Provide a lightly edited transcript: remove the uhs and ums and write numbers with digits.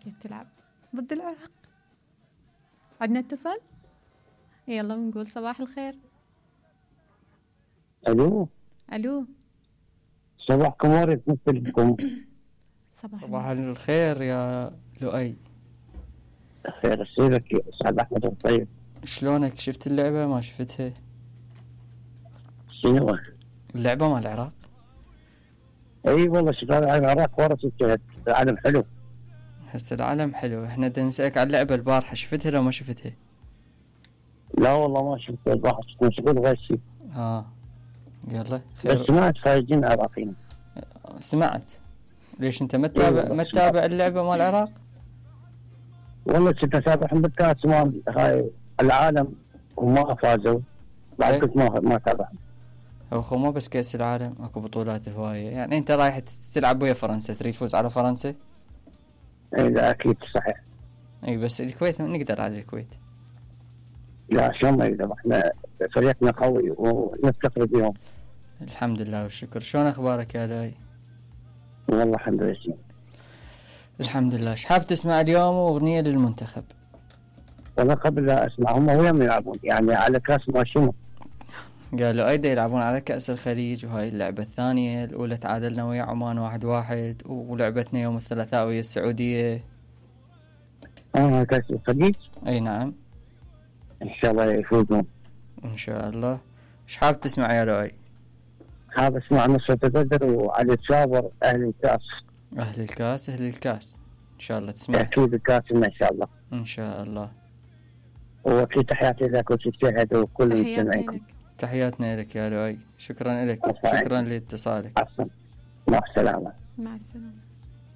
كيف تلعب ضد العراق. عندنا اتصال، يلا بنقول صباح الخير. الو الو، صباحكم ورد مثلكم. صباح الخير يا لؤي. خير اسيرك يا استاذ احمد الطيب. شلونك؟ شفت اللعبة ما شفتها؟ شنو؟ اللعبة مال العراق. اي والله شغال على العراق ورا الجهد. العالم حلو. هسه العالم حلو. احنا بدنا نسألك على اللعبة البارحة، شفتها لو ما شفتها؟ لا والله ما شفت البارحة، كنت مشغول غير شيء. يلا خير. بس سمعت فايزين العراقيين. سمعت. ليش انت ما تتابع اللعبة مال العراق؟ والله كنت اتابعهم بالكاس مال هاي العالم وما فازوا. بعد كنت ما تابعهم. هو مو بس كأس العالم، اكو بطولات هواية. يعني انت رايح تلعب ويا فرنسا، تريد تفوز على فرنسا؟ اي لا اكيد صحيح. اي بس الكويت نقدر على الكويت. لا شلون ما يقدر، احنا فريقنا قوي ونفتخر بهم. الحمد لله والشكر. شلون اخبارك يا لاي؟ والله الحمد لله. الحمد لله. ايش حاب تسمع اليوم؟ اغنية للمنتخب. والله قبل لا اسمع، هم وين يلعبون؟ يعني على كاس ما شنو؟ قالوا ايضا يلعبون على كأس الخليج، وهاي اللعبة الثانية. الاولى تعادلنا ويا عمان 1-1، ولعبتنا يوم الثلاثاء ويا السعودية. كاس الخليج. اي نعم. ان شاء الله يفوزون ان شاء الله. ايش حاب تسمع يا لؤي؟ حاب اسمع نصرة بدر وعلي الصابر. اهل الكاس. اهل الكاس. اهل الكاس ان شاء الله تسمع. اكيد الكاس ان شاء الله. ان شاء الله. وفي تحياتي لك وتجتهد وكل المستمعين. تحياتنا لك يا لؤي. شكرا لك. شكرا لاتصالك. مع السلامة. مع السلامة.